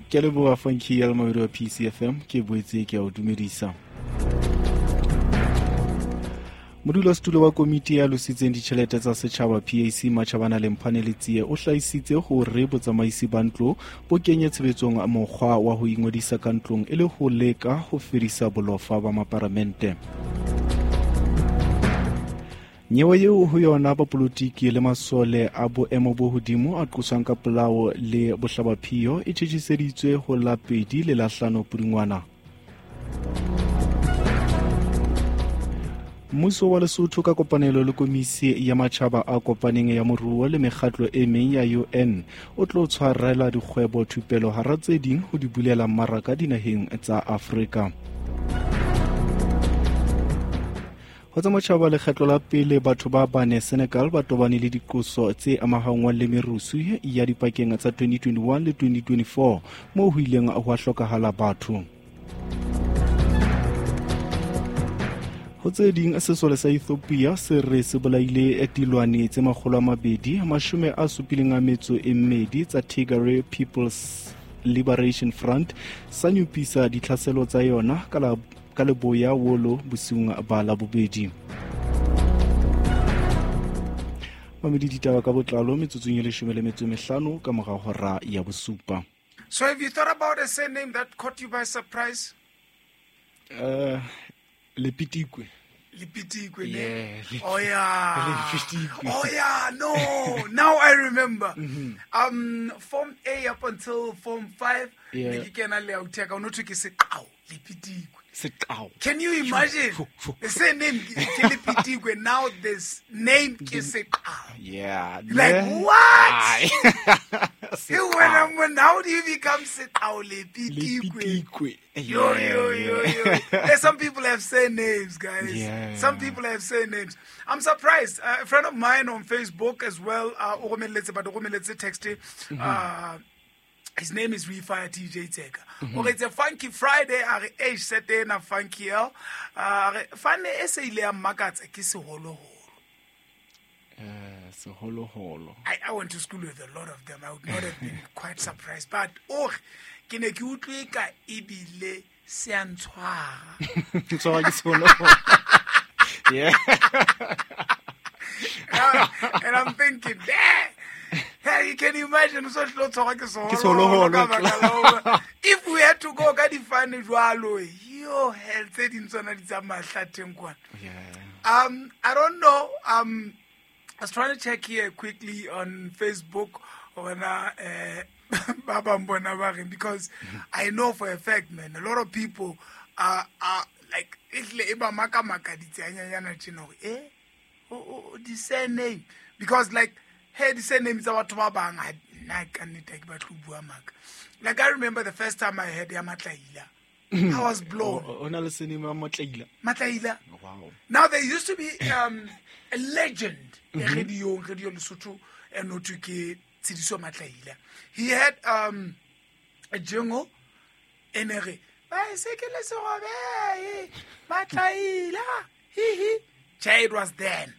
Ke leboha Funky ya le wa PCFM, ke boetse ke a o dumedisa. Modulasetulo wa komiti ya lositseng ditjhelete tsa setjhaba PAC Matjhabana Lemphane Letsie o hlahisitse hore botsamaisi ba ntlo bo kenye tshebetsong mokgwa wa ho ingodisa ka ntlong e le ho leka ho fedisa bolofa ba maparamente. Nyewe eo ho yona bapolotiki le masole a boemo bo hodimo a qoswang ka polao le bohlabaphiyo e tjhetjhiseditswe ho la 2 le la 5 Pudungwana. Mmuso wa Lesotho ka kopanelo le komisi ya matjhaba a kopaneng ya moruo le mekgatlo e meng ya UN o tlo tshwarela dikgwebo thupelo hara tse ding ho di bulela mmaraka dinaheng tsa Afrika. Ho tsa matjhaba, lekgetlo la pele batho ba bane Senegal ba tobane le diqoso tse amahanngwang le merusu ya dipakeng tsa 2021 le 2024 moo ho ileng hwa hlokahala batho. Ho tse ding, sesole sa Ethiopia se re se bolaile dilwane tse 272 tsa Tigray People's Liberation Front sa nyopisa ditlhaselo tsa yona ka leboya Wolo bosiung ba Labobedi. Mamedi ditaba ka botlalo metsotsong e 15 ka mora hora ya 7. So have you thought about a surname that caught you by surprise? Lepitikwe. Lepitikwe, yeah. Oh yeah. Lepitikwe. Oh yeah, no. Now I remember. Mm-hmm. Form A up until Form 5, yeah. Ne ke kena le autheka o no thwe ke Seqao, Lepitikwe. Seqao. Can you imagine? The same name ke Lepitikwe, now this name ke Seqao. Yeah. Like what? Seqao. How do you become Seqao Lepitikwe? Lepitikwe. Yo, yo, yo, yo. There's some people have surnames, guys. Yeah. Some people have surnames. I'm surprised. A friend of mine on Facebook as well, texted. His name is Refire TJ Teka. Okay, it's a Funky Friday. Are age set na Funky L. Fane ese ile ya makatsa ke seholoholo. Seholoholo. I went to school with a lot of them. I would not have been quite surprised. But oh, ke ne ke utlwe ka ebile se a ntshwara. Ntshwara ke seholoholo. Yeah. And I'm thinking, damn. Hey, you can imagine so if we had to go ka difane jwalo, yo hell tse ding tsona di tsa mahlatheng kwana. Yeah. I don't know. I was trying to check here quickly on Facebook ona ba bang bona ba reng, because I know for a fact, man, a lot of people are like ehle e ba maka maka ditsanyanyana tjena hore oh the surname, because like hey, the surname tsa batho ba bang nna ka nnete ke batlo bua maka. Like I remember the first time I heard ya Matlaila, I was blown. O na le surname ya Matlaila. Matlaila. Wow. Now there used to be a legend radio Lesotho and no ke Tsediso Matlaila. He had a jingle and a bicycle Matlaila. He he. It was then.